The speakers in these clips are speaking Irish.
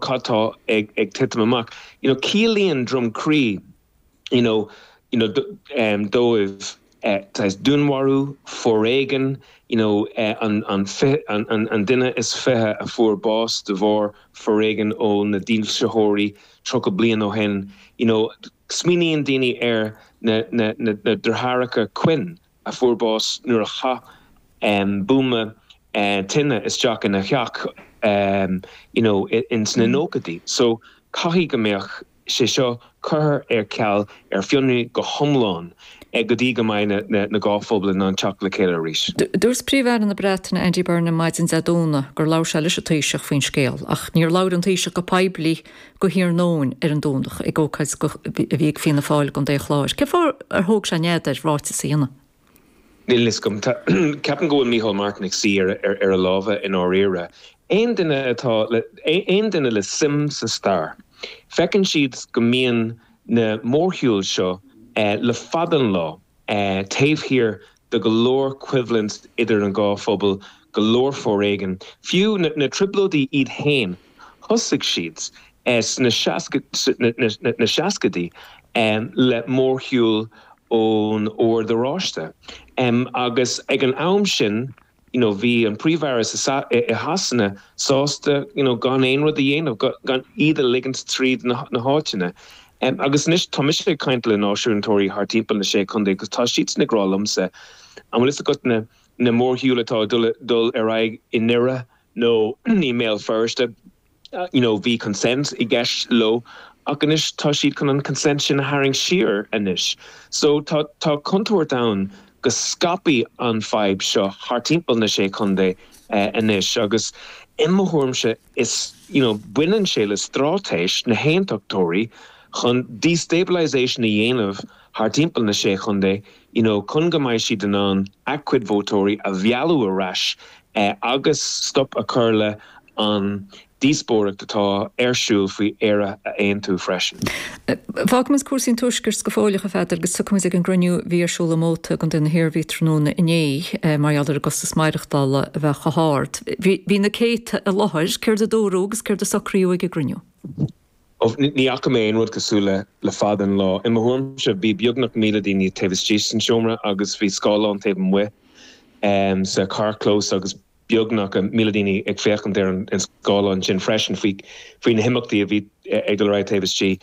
cad tá ag titim amach. You know, ciallaíonn Droim Crí, you know, you know, dóibh, saghas dúnmharú, foréigean, you know, an, an, an, an duine is 20 a fuair bás de bharr foréigean ó na dílseoirí 30 bliain ó shin, you know, smaoiníonn daoine ar na, na, na, na deartháireacha Quinn a fuair bás nuair a chaith buama tine isteach ina theach, you know, ins na nóchaidí. So, caithfidh go mbeadh sé seo curtha ar ceal, ar fionraí go hiomlán go dtí go mbeidh na dá phobal in ann teacht le chéile arís. Dúirt Príomh-Aire na Breataine Andy Burnham maidin Dé Domhnaigh gur labhair sé leis an Taoiseach faoin scéal ach níor labhair an Taoiseach go poiblí go hiarnóin ar an Domhnach ag ócáid a bhí ag Fianna Fáil i gContae an Chláir. Cén fáth ar thóg sé nead air ráiteas a dhéanamh? Níl fhios agam. Ceapaim go bhfuil Micheál Martin ag suí ar a lámha i ndáiríre. Aon duine atá le, aon duine le suim sa stair, feiceann siad go mbíonn na mórshiúil seo le fada an lá taobh thiar de go leor coimhlint idir an dhá phobal, go leor foréigean. Fiú na trioblóidí iad féin, thosaigh siad sna seascaidí le mórshiúl ón Ord Oráiste. Agus ag an am sin, you know, bhí an Príomh-Aire sa, i Shasana sásta, you know, gan aon rud a dhéanamh, gan iad a ligint tríd na háiteanna. Agus anois tá mise ag caint le náisiúntóirí thar timpeall na Sé Chontae agus tá siadsan ag rá liomsa, an bhfuil fhios agat na, na mórshiúil atá ag dul, dul ar aghaidh i nDoire nó i mBéal Feirste, you know, bhí consent i gceist leo ach anois tá siad chun an consent sin a tharraingt siar anois. So tá, tá contúirt ann go scaipfidh an fadhb seo thar timpeall na Sé Chontae anois agus i mo thuairimse is, you know, baineann sé le straitéis na hAontachtóirí chun destabilisation a dhéanamh thar timpeall na Sé Chontae, you know, chun go mbeidh siad in ann a gcuid vótóirí a mhealladh ar ais agus stop a chur le an díospóireacht atá ar siúl faoi Éire a aontú freisin. Fágfaimid cúrsaí an Tuaiscirt go fóilleach, a Pheadair, agus tiocfaimid ag an gcruinniú a bhí ar siúl i Móta i gContae na hIarmhí tráthnóna inné mar gheall ar an gcostas maireachtála a bheith chomh hard. Bhí na céadta i láthair. Céard a dúradh agus céard a socraíodh ag an gcruinniú? Ní fhaca mé aon rud cosúil le le fada an lá. I mo thuairimse, bhí beagnach 1,000 daoine taobh istigh san seomra agus bhí scáileán taobh amuigh sa charrchlós agus beagnach 1,000 daoine ag féachaint ar an scáileán sin freisin faoi faoi na himeachtaí a bhí ag dul ar aghaidh taobh istigh.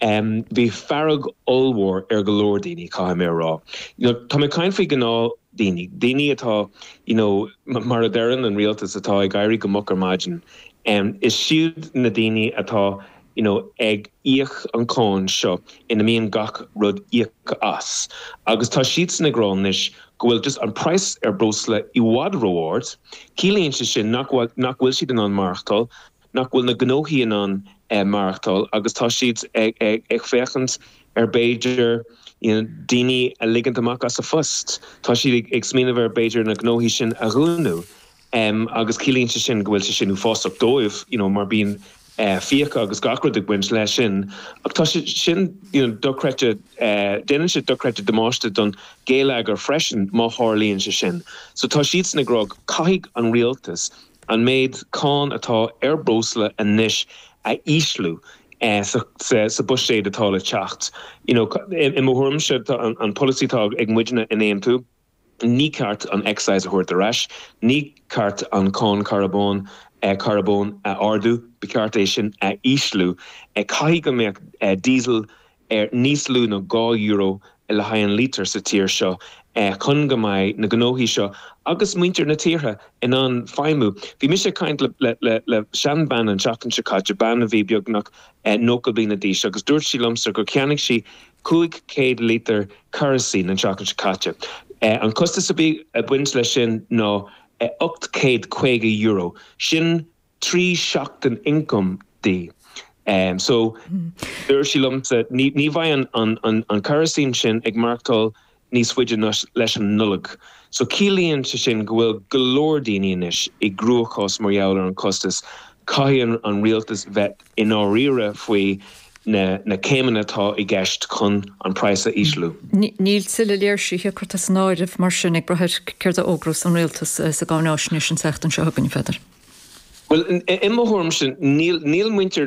Bhí fearg ollmhór ar go leor daoine, caithfidh mé a rá. You know, tá mé ag caint faoi ghnáth-daoine, daoine atá, you know, mar a deireann an rialtas, atá ag éirí go moch ar maidin. Is siad na daoine atá you know ag íoc an cáin seo ina mbíonn gach rud íoctha as agus tá siadsan ag rá anois go bhfuil just an praghas ar breosla i bhfad ró-ard. Ciallaíonn sé sin nach bhfuil nach bhfuil siad in ann maireachtáil, nach bhfuil na gnóthaí in ann maireachtáil agus tá siad ag ag féachaint ar b'fhéidir you know daoine a ligint amach as a phost. Tá siad ag ag smaoineamh ar b'fhéidir na gnóthaí sin a dhúnadh. Agus ciallaíonn sé sin go bhfuil sé sin uafásach dóibh, you know, mar bíonn fiacha agus gach rud ag baint leis sin. Ach tá sé sin, you know, dochreidte, déanann sé dochreidte damáiste don gheilleagar freisin má tharlaíonn sé sin. So tá siadsan ag rá caithfidh an rialtas an méid cáin atá ar breosla anois a ísliú sa sa buiséad atá le teacht. You know, i mo thuairimse tá an polasaí atá ag muidne in Aontú, Ní ceart an excise a thabhairt ar ais, ní ceart an cáin carbóin carbóin a ardú, ba cheart é sin a ísliú. Caithfidh go mbeadh diesel ar níos lú ná €2 le haghaidh an lítear sa tír seo chun go mbeidh na gnóthaí seo agus muintir na tíre in ann feidhmiú. Bhí mise ag caint le le seanbhean an tseachtain seo caite, bean a bhí beagnach 90 bliana d'aois agus dúirt sí liomsa gur cheannaigh sí 500 lítear kerosene an tseachtain seo caite. An costas a bhí ag baint leis sin ná €850. Sin 3 seachtain ioncaim di. So, dúirt sí liomsa, ní bheidh an kerosene sin ag maireachtáil níos faide ná leis an Nollaig. So ciallaíonn sé sin go bhfuil go leor daoine anois i gcruachás mar gheall ar an chostas. Caithfidh an rialtas bheith i ndáiríre faoi na céimeanna atá i gceist chun an praghas a ísliú. Níl tuilleadh léirsithe curtha san áireamh mar sin, ag brath ar céard a fhógrós an rialtas sa gcáináisnéis an tseachtain seo chugainn, a Pheadair. Bhuel, i mo thuairimse, níl muintir.